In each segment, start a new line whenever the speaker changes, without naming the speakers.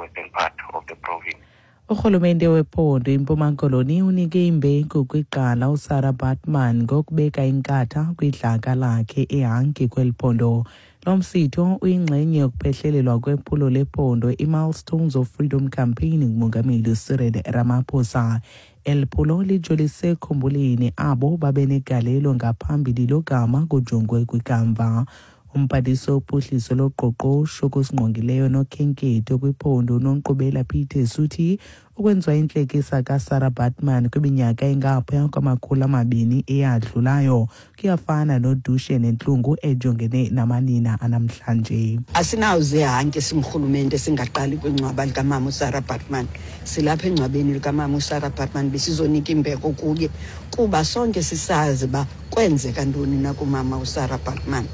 western part of the province.
Urhulumente wephondo iMpuma Koloni unike imbeko kwigqala uSarah Baartman ngokubeka inkatha kwidlaka lakhe eHanki kweli phondo. Lo msitho uyingxenye yokuphehlelelwa kwephulo lephondo iMilestones of Freedom Campaign nguMongameli Cyril Ramaphosa. Eli phulo lijolise ekukhumbuleni abo babenegalelo ngaphambili logama kujongwe kwikamva. Umphathiswa wophuhliso loqoqosho kusingqongileyo nokhenketho kwiphondo uNonkqubela Pieters uthi ukwenziwa intlekisa kaSarah Baartman kwiminyaka engaphaya kwama-200 eyadlulayo kuyafana nodushe nentlungu ejongene namanina anamhlanje.
Asinawuze hanke singurhulumente singaqali kwingcwaba likamama uSarah Baartman. Silapha engcwabeni likamama uSarah Baartman besizonika imbeko kuye kuba sonke sisazi uba kwenzeka ntoni na kumama uSarah Baartman.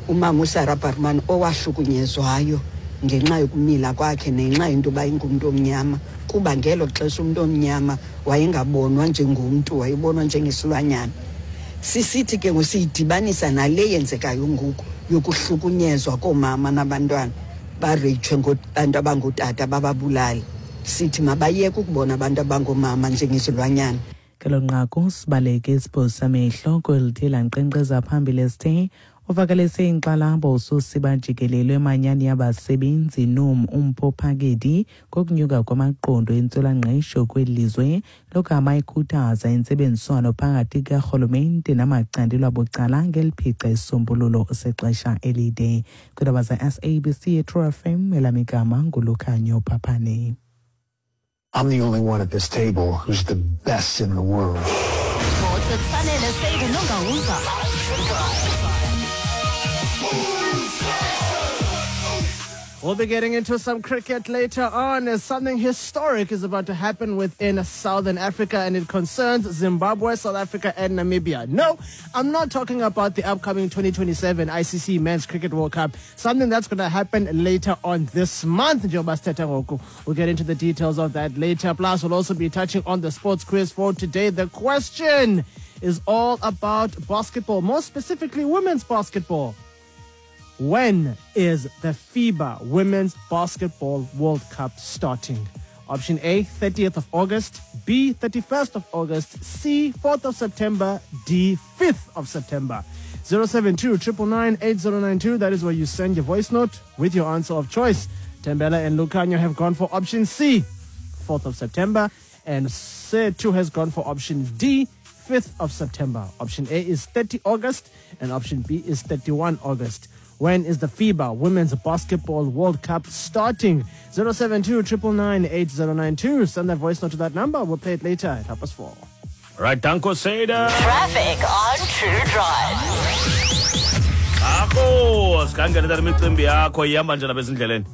Umama uSarah Baartman owahlukunyezwayo ngenxa yokumila kwakhe nenxa yento yoba ingumntu omnyama, kuba ngelo xesha umntu omnyama wayengabonwa njengomntu, wayebonwa njengesilwanyana. Sisithi ke ngokusiyidibanisa nale yenzekayo ngoku yokuhlukunyezwa koomama nabantwana, bareyitshwe ngabantu abangootata bababulale. Sithi mabayeke ukubona abantu abangoomama njengezilwanyana.
Ngelo nqaku sibaleke isibhozo samehlo kweli lankqenkqeza phambili esithe uvakalise inkxalabo uSosiba jikelele emanyani yabasebenzi NUM uMpho Phakedi ngokunyuka kwamaqondo entswelangqesho kweli lizwe, logama ikhuthaza intsebenziswano phakathi karhulumente namacandelo abucala ngeliphica isisombululo sexesha elide. Kwiindaba ze-SABC eTrue FM, elam igama nguLukhanyo Phaphane.
I'm the only one at this table who's the best in the world.
Sports with Sanele Sedu Nongauza.
We'll be getting into some cricket later on as something historic is about to happen within Southern Africa, and it concerns Zimbabwe, South Africa and Namibia. No, I'm not talking about the upcoming 2027 ICC Men's Cricket World Cup, something that's going to happen later on this month. Njengoba sithetha ngoku. We'll get into the details of that later. Plus, we'll also be touching on the sports quiz for today. The question is all about basketball, more specifically women's basketball. When is the FIBA Women's Basketball World Cup starting? Option A, 30th of August, B, 31st of August, C, 4th of September, D, 5th of September. 072 999 8092. That is where you send your voice note with your answer of choice. Tembela and Lucanio have gone for option C, 4th of September, and Setu has gone for option D, 5th of September. Option A is 30 August and option B is 31 August. When is the FIBA Women's Basketball World Cup starting? 072 999 8092. Send that voice note to that number. We'll play it later at 4:30.
Right, danko Seda.
Traffic on True Drive.
Akho, sikhangele imicimbi yakho ihamba njani bezindleleni?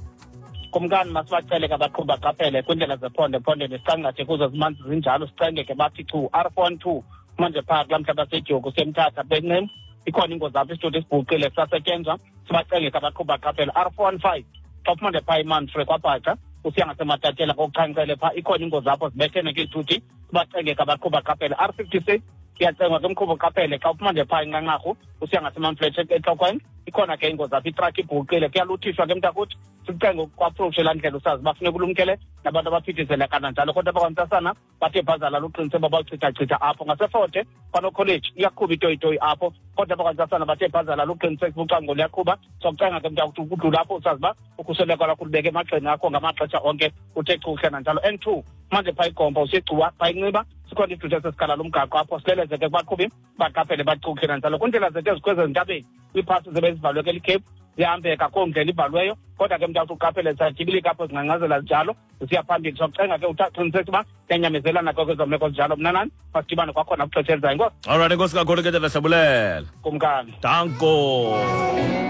Kumkani, masibacele ke abaqhubi baqaphele kwiindlela zephondo ephondweni, sicangathe kuzo zimanzi zinjalo, sicenge ke bathi chu R42 manje phaa kulaa mhlaba seDyoku semthatha bencim ikhona ingozi apho, isithuthi esibhuqile sisasetyenzwa, sibacenge ke abaqhubi baqaphele. R415 xa uphuma nje phaa iManfre kwaBhaca usiya ngaseMatatshela kokuchankcele phaa ikhona ingozi apho, zibethene ke izithuthi, sibacenge ke abaqhubi baqaphele. R56 iyacengwa ke umqhubi uqaphele xa uphuma nje phaa inqanqarhu usiya ngaseMamfletshe eTlokweni ikhona ke ingozi apho, itrakhi ibhuqile, kuyaluthiswa ke mntakuthi, sikucenge kwaapproache laa ndlela usazi uba funeka ulumkele nabantu abaphithizela kananjalo. Kodwa abakwantsasana bathe bhazala luqinise uba bawuchithachitha apho ngaseForte kwanokholeji iyaqhuba itoyitoyi apho, kodwa abakwantsasana bathe bhazala luqinise ucango luyaqhuba, sokucenga ke mntakuthi ukudlula apho usazi uba ukhuseleko lwakho lubeke emagxeni akho ngamaxesha onke, uthe chuhle nanjalo. N2 manje phaa igomba usegcuwa phaa inxiba sikhona isithuthi esesikhala lomgaqo apho, sileleze ke kubaqhubi baqaphele bachuhle nanjalo. Kwiindlela zethu ezikhweza ezintabeni kwiiphasi zibe zivalwe ke likhephu zihambeka koo ndlela ivalweyo, kodwa ke mntakuthi uqaphele zisatyibilika apho zingcangcazela zinjalo zisiya phambili, sokucenga ke uqiniseka uba siyanyamezelana ke kwezo meko zinjalo. Mna nani masidibane kwakhona kwixesha elizayo. Inkosi.
Alright, enkosi kakhulu ke tata, siyabulela.
Kumkani.
Danko.